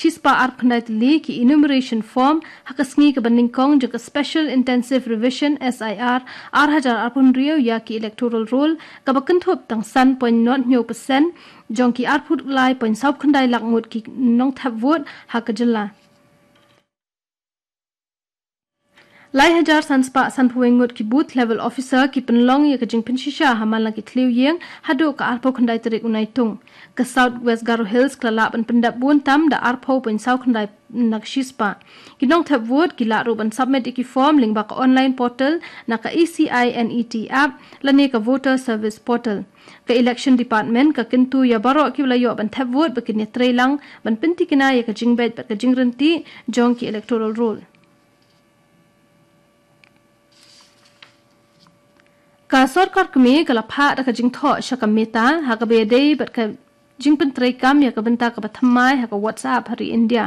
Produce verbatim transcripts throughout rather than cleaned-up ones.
shispah arphew khyndai tylli ki enumeration form ha ka sngi kaba nyngkong jong ka Special Intensive Revision, S I R, ar hajar arphew hynriew ïa ki electoral roll, kaba kynthup tang san point nod hynñiew percent jong ki arphew lai point saw khyndai lak ngut ki nongthep vote ha ka jylla. Lai hajar san spah sanphew wei ngut ki booth level officer ki pynlong ïa ka jingpynshisha ha man la ki thliew ïing haduh ka arphew khyndai tarik u Naitung. Ka South West Garo Hills ka la lah ban pyndep bun tam da arphew point saw khyndai na ka shispah. Ki nongthep vote ki lah ruh ban submit ïa ki form lyngba ka online portal na ka E C I N E T app lane ka voter service portal. Ka election department ka kyntu ïa baroh kiba la ïoh ban thep vote ba kin ïatreilang ban pyntikna ïa ka jingbeit bad ka jingryntih jong ki electoral roll. Ka sorkar kmie ka la phah da ka jingthoh sha ka Meta ha kaba ïadei bad ka jingpyntreikam ïa ka bynta kaba thymmai ha ka WhatsApp ha ri India.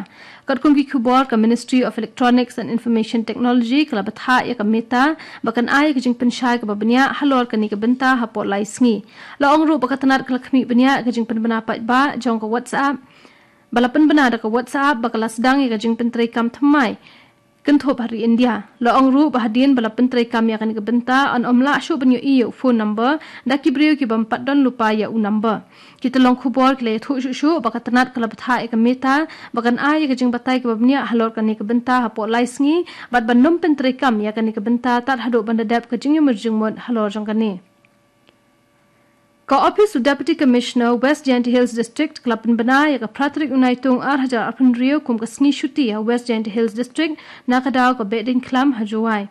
Katkum ki khubor, ka Ministry of Electronics and Information Technology ka la bthah ïa ka Meta ba kan ai ka jingpynshai kaba bniah halor kane ka bynta hapoh lai sngi. La ong ruh ba ka tnat ka la khmih bniah ka jingpynbna paidbah jong ka WhatsApp ba la pynbna da ka WhatsApp ba ka la sdang ïa ka jingpyntreikam thymmai kynthup ha ri India. La ong ruh ba hadien ba la pyntreikam ïa kane ka bynta, yn ym lah shuh ban ïohi ïa u phone number da ki briew ki bym pat don lypa ïa u number. Ki tyllong khubor ki la ïathuh shuh shuh ba ka tnat ka la bthah ïa ka Meta ba kan ai ïa ka jingbatai kaba bniah halor kane ka bynta hapoh lai sngi bad ban ym pyntreikam ïa kane ka bynta tad haduh ban da dep ka jingïamir jingmut halor jong kane. Ka Office of Deputy Commissioner West Jaintia Hills District ka la pynbna ïa ka phra tarik u Naitung ar hajar arphew hynriew kum ka sngi shuti ha West Jaintia Hills District na ka daw ka Behdeiñkhlam ha Jowai.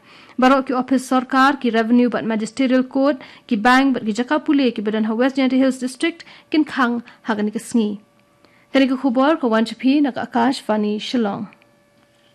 Baroh ki ophis sorkar, ki revenue bad magisterial court, ki bank bad ki jaka pule kiba don ha West Jaintia Hills District kin khang ha kane ka sngi. Kane ka khubor ka wan sha phi na ka Akashvani Shillong.